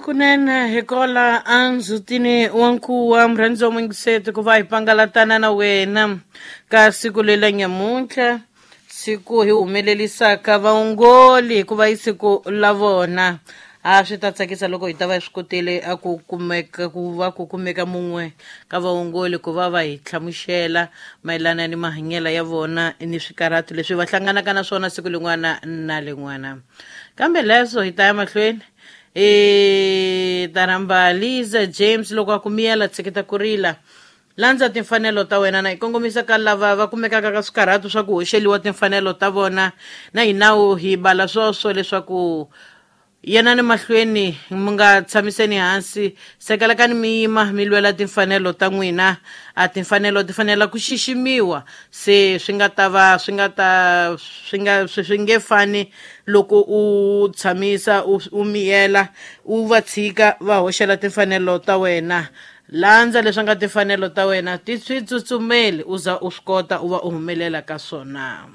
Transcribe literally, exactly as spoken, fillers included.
Kunene hi kola andzhutini wa nkuwa murhandzi wa muyingiseti ku va hi pangalatana na wena ka siku lela nyamuntlha, siku hi humelelisaka vaongoli hikuva i siku la vona. A swi ta tsakisa loko hi ta va hi swi kotile a ku kumeka ku va ku kumeka mun'we ka vaongoli ku va va hi hlamusela mayelana ni mahanyelo ya vona ni swikarhato leswi va hlanganaka na swona siku lin'wana na lin'wana. Kambe leswo hi ta ya mahlweni i ta rhamba Liza James loko a ku miyela tshiketa ku rila, landza timfanelo ta wena, na hi kongomisa ka lava va kumekaka ka swikarhato swa ku hoxeliwa timfanelo ta vona, na hi nawu hi bala swoswo leswaku yenani mahlweni mi nga tshamiseni hansi, sekelekani mi yima mi lwela timfanelo ta n'wina. A timfanelo ti fanela ku xiximiwa, se swi nga ta va swi nga ta swi nga swi swi nge fani loko u tshamisa u, u miyela u va tshika va hoxela timfanelo ta wena. Landza leswi nga timfanelo ta wena, ti swi tsutsumeli u za u swi kota u va u humelela ka swona.